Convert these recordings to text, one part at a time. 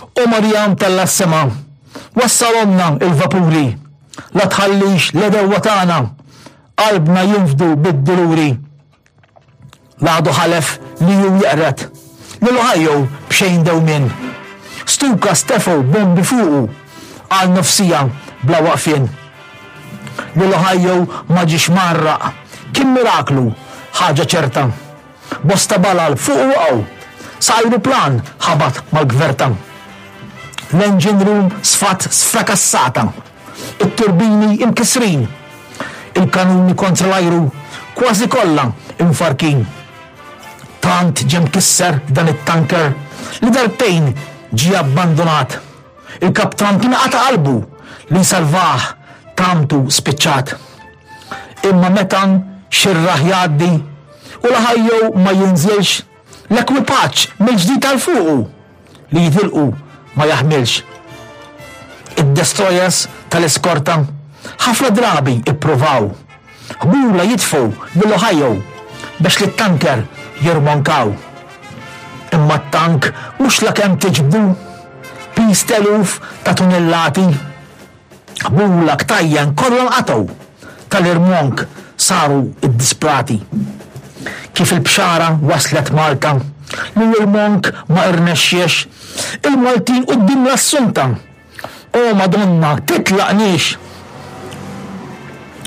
O Marija mtellgħa s-sema, wassalhomlna il-vapuri, la tħallix l-għedewwa tagħna qalbna jinfdu bid-duluri. L-għadu ħalef li hu jeqred lil Ohio b'xejn dewmien. Stuka stefgħu bombi fuqu għal nofs siegħa bla waqfien. Lil Ohio ma ġiex mgħarraq, kien miraklu, ħaġa ċerta. Bosta balal fuqu waqgħu, sa ajruplan ħabat mal-gverta. L-engine room sfat sfrakassata, it-turbini imkissrin, il-kanuni kontra l-ajru kważi kollha imfarrkin. Tant ġie mkisser dan it-tanker li darbtejn ġie abbandunat. Il-kaptan kien qata' qalbu li jsalvah tamtu spiċċat. Imma meta xi rah jgħaddi u l-Ohio ma jinżilx, l-ekwipaġġ mill-ġdid għal fuqu li jitilqu ma jaħmilx. Id-destroyers tal-iskorta ħafna drabi ippruvaw ħbula jitfgħu lill-Ohio biex lit-tanker jirmonkaw. Imma t-tank mhux lakemm tiġbdu piż t'eluf ta' tunellati. Ħbula, ktajjen kollha nqatgħu, tal-irmonk saru ddisprati. Kif il-bxara waslet Malta li l-irmonk ma irnexxiex, il-Maltin quddiem l-Assunta, O Madonna, titlaqniex!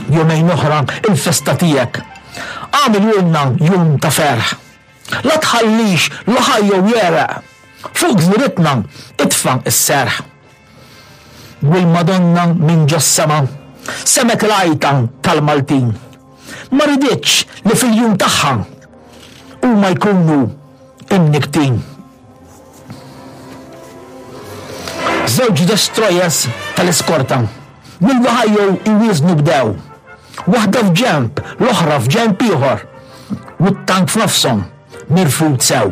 Jumejn oħra il-festa tiegħek. Agħmilulna jum ta' ferħ. La tħallix l-Ohio jegħreq. Fuq gżiritna itfa' s-serħ. U l-Madonna minn ġos-sema semgħet il-għajta tal-Maltin. Ma riditx li fil-jum tagħha huma jkunu imnikktin. Żewġ destroyers tal-iskorta mill-Ohio jwieżnu bdew. Waħda f'ġenb, l-oħra f'ġenb ieħor, u t-tank f'nofshom. Mirfud sew.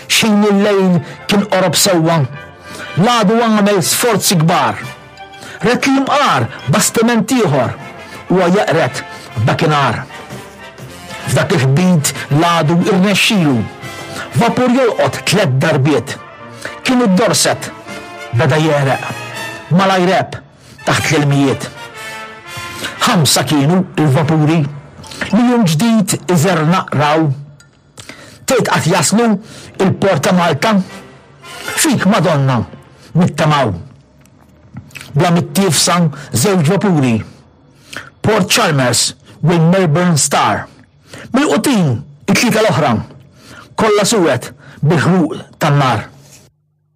X'ħin il-lejl kien qorob sewwa, l-għadu għamel sforzi kbar. Ret li jimqar bastiment ieħor huwa jeqred f'dakinhar. F'dak il-ħbit l-għadu irnexxilu vapur jolqot tlett darbiet. Kien id-Dorset beda jegħreq malajr għeb taħt l-ilmijiet. Ħamsa kienu l-vapuri li jum ġdid iżernaq raw. Tgħid qatt jaslu il-port ta' Malta? Fik, Madonna, nittamaw. Bla mittiefsa żewġ vapuri, Port Chalmers u l-Melbourne Star. Milqutin it-tlieta l-oħra, kollha suwed bil-ħruq tan-nar.